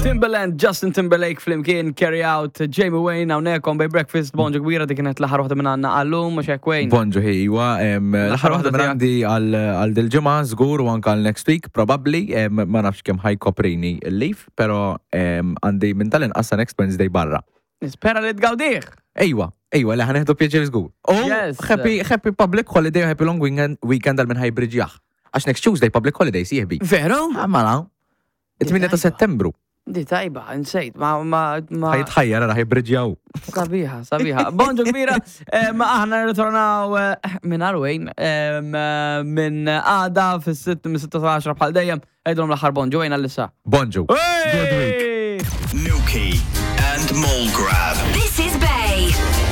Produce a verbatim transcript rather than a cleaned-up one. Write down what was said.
Timbaland, Justin Timberlake flimkien, Carry Out, Jamie Wayne, hawnhekk on Bay Breakfast, bonġu kbira, dik kienet l-aħħar waħda minn għandna għallum, mhux hekk, Wayne? Bonġu ħejwa, l-aħħar waħda minn għandi għal dil-ġimgħa żgur u anke għal next week, probably, em, ma nafx kemm ħa jkoprini l-leave, pero em, għandi minn tal-inqas sa next Wednesday barra. Nispera li tgawdih. Ejwa, ejwa, li ħa nieħdu pjaċir żgur. U Yes. happy, happy public holiday, happy long weekend, weekend għal minn ħa jibbriġjah. Għax next Tuesday public holiday sieħbi. Veru? Mela, it-tmienja ta' Settembru. Di tajba, insejt, ma ma ma. Ħa jitħajjar ħa jibbriġjaw. Sabiħa, sabiħa. Bonġu kbira, eh, ma aħna nirritornaw eh, minn Arwejn, minn għada fis-sitt minn sitta sa għaxra bħal dejjem, għidilhom l-aħħar bonġu Wayne għal-issa. Bonġu. Good week. Nuki and Mole Grab.